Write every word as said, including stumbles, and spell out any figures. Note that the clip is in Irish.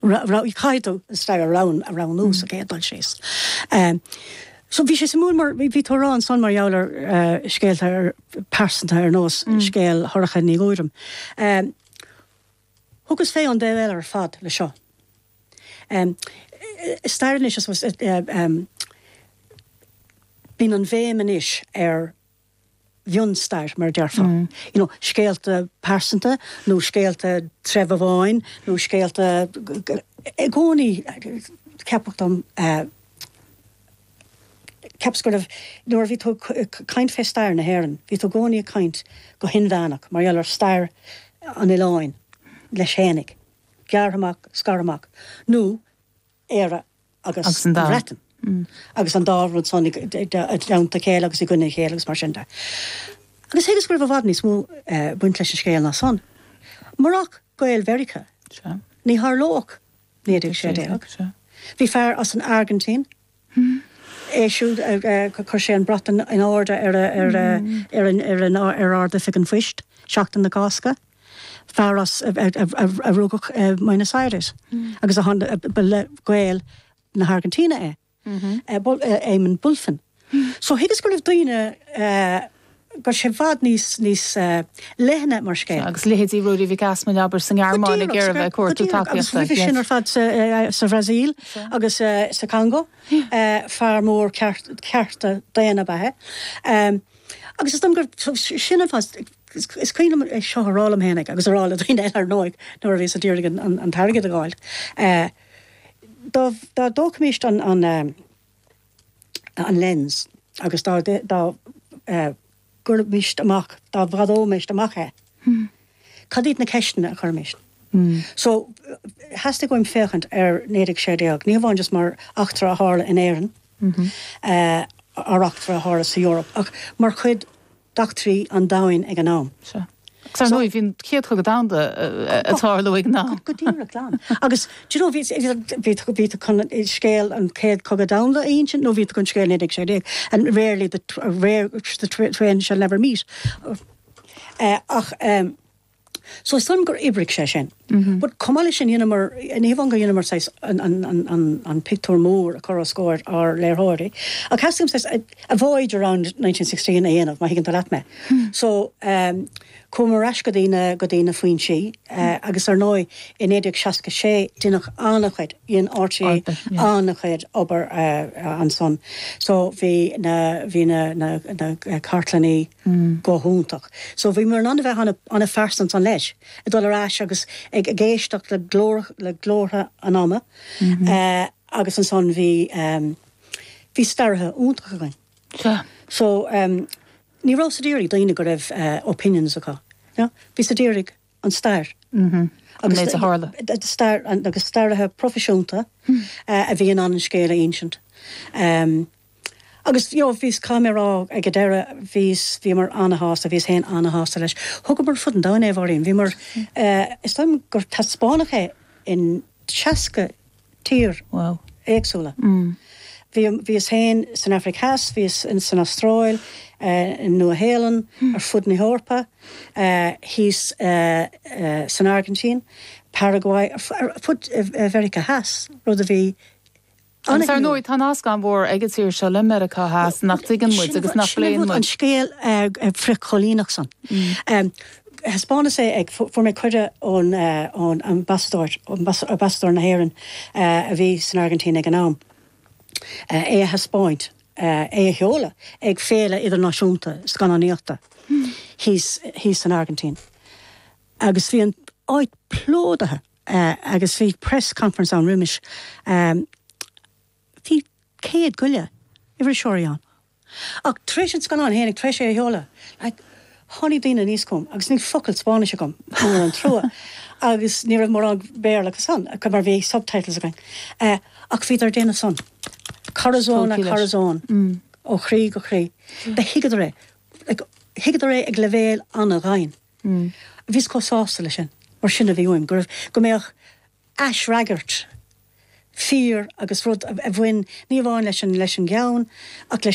Caithfidh tú an stair a roghnú sa chéad dul síos. Um, so bhí sé suimiúil mar bhí tú rá ansan mar gheall ar uh, scéalta pearsanta ar nós mm. scéal Shorcha Ní Ghuairim. Um, Thugas fé an dtaobh eile ar fad le seo. Um, stair anois uh, um, bíonn an bhéim anois ar mhionstair mar déarfá. Mm. You know, scéalta pearsanta nó scéalta treibh amháin nó scéalta i gcónaí ceapadh dom uh, ceapas go raibh nuair bhí tú caint fé stair na hÉireann, bhí tú i gcónaí caint go hinmheánach mar gheall ar stair an oileáin leis fhéinig, gearrtha amach scartha amach nó Éire agus an Bhreatain. Mm. agus an dá rud san i dteannta chéile agus i gcoinne chéile agus mar sin de. Agus thuigeas go raibh i bhfad níos mó uh, baint leis an scéal ná san. Murach Gaeil Mheiriceá. Ní tharlódh naoi déag sé déag. Bhí fear as an Airgintín. Hmm. É siúd chuir sé an brat in airde ar ar ar ar ar Ard-Oifig an Phoist, seachtain na Cásca. Fear as a rugadh Buenos Aires mm. agus a le Gael na hAirgintíne é. Mm-hmm. Éamon Bulfin. So thuigeas go raibh daoine go sé i bhfad níos níos leithne mar scéal. Agus leithéidí Ruairí Mhic Easmainn abair san Ghearmáin ag iarraidh bheith cuartú tacaíochta. Sin ar fad sa Bhrasaíl agus sa Congo fear mór cearta daonna ba ea. Agus is dom gur sin an fáth is cuimhin é seo a rá liom fhéinig agus a rá le daoine eile ar ndóigh nuair a bhíos ag iarraidh an t-airgead a fháil. Dá dtógfaimis an an an lens agus dá dá gcuirfimis amach dá bhfadóimis amach é. Hmm. Cad iad na ceisteanna a chuirfimis. Mm. So theastaigh uaim féachaint ar naoi déag sé déag, ní amháin just mar eachtra a tharla in Éirinn mm -hmm. uh, ar eachtra a tharla sa Eoraip, ach mar chuid d'eachtraí an domhain ag an am. Sure. Ar ndóigh bhí an Chéad Chogadh Domhanda ag tarlú ag an am. Go díreach glan. Agus bhí tú chun scéal an Chéad Chogadh Domhanda a insint nó bhí tú chun scéal naoi déag sé déag and rarely the rare the twain shall never meet. Uh, ach um, So is dom gur oibrigh sé sin. Mm -hmm. But chomh maith leis sin dheineamar ní hamháin gur dheineamar an, an, an, an, an pictiúr mór a chur os comhair ár léitheoirí. Ach theastaigh a, a voyage around nineteen sixteen a dhéanamh má thuigeann tú leat mé. Mm. So um, chuamar ar ais go dtí na go dtí na foinsí uh, agus ar ndóigh i naoi déag seasca sé deineadh an-chuid in R T É an-chuid obair uh, ansan. So bhí na bhí na, na, na cartlannaí mm. go hiontach. So bhí mar an bheith an-phearsanta an leis, ag dul ar ais agus ag ag éisteacht le glór le glórtha an ama mm -hmm. uh, agus ansan bhí um, bhí staraithe iontacha againn. Yeah. So um, ní raibh siad ag iarraidh daoine go raibh uh, opinions acu. Ja? Bhí siad ag iarraidh an stair. Mm -hmm. Agus tharla. Stair agus staraithe proifisiúnta mm. uh, a bhí in ann an scéal a insint. Um, agus jo bhís camerá ag go deireadh bhís bhíomar an-sásta bhíos féin an-sásta leis. Thugamar fud an domhain é bhín, bhí mar uh, is dom gur taispeánadh é in seasca tír wow. éagsúla. Mm. Bhíos féin san Afraic Theas, bhíos in san Astráil, uh, in Nua-Shéalainn, mm. ar fud na hEorpa, uh, thíos uh, uh, san Airgintín, Paraguay, ar fud Mheiriceá Theas, rud a bhí Agus ar ndóigh tá nasc an-mhór ag an tír seo le Meiriceá Theas nach dtuigeann muid agus nach bpléann an scéal frithchoilíneach san. Mm. Thaispeánas é ag fuair mé cuireadh ón ón ambasadóir ambasadóir na hÉireann a bhí san Airgintín ag an am. É a thaispeáint é a sheoladh ag féile idirnáisiúnta scannánaíochta thíos thíos san Airgintín. Agus bhí an áit plódaithe agus bhí press conference ann roimis um, bhí céad go leith iriseoirí ann. Ach tar éis an scannán fhéinig tar éis é a sheoladh, like, tháinig daoine aníos chugam, agus níl focal Spáinnis agam mór an trua, agus ní raibh mórán Béarla acusan, mar bhí subtitles againn. Uh, ach bhíodar ag déanamh san. Corazón a corazón mm. ó chroí go croí. De thuigeadar é like, thuigeadar é ag leibhéal an-domhain. Mm. Bhíos chomh sásta leis sin, mar sin a bhí uaim, go go mbeadh aisfhreagairt fíor agus rud a bhain ní amháin leis an leis an gceann ach leis